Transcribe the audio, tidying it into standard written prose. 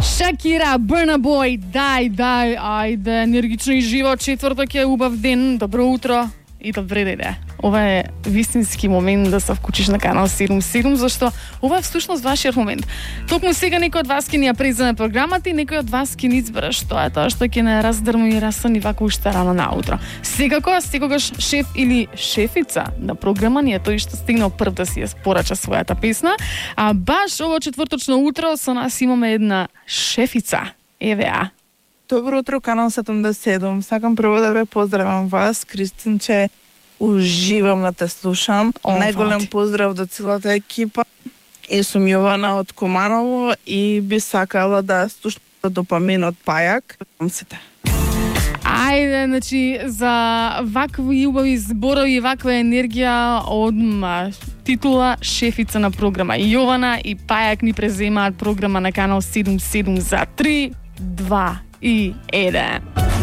Шакира, Burna Boy, дај, ајде, енергично и живо, четврток е убав ден, добро утро и добре деде. Ова е вистински момент да се вклучиш на канал 77, зашто ова е всушност вашиот момент. Токму сега некој од вас ќе ни ја преземе програмата и некој од вас ќе ни избере што е тоа што ќе не раздрму и расани вака уште рано наутро. Секогаш шеф или шефица на програма ни е тој што стигнал прв да си ја порача својата песна, а баш ово четврточно утро со нас имаме една шефица. Евеа. Добро утро, канал 77. Сакам прво да ве поздравам вас, Кристинче. Уживам да те слушам. Најголем поздрав до целата екипа. И сум Јована од Команово и би сакала да слушам Допамин Пајак. Ајде, значи, за вакви убави зборови и ваква енергија одма титула шефица на програма Јована и Пајак ни преземаат програма на канал 77 за 3, 2 и 1.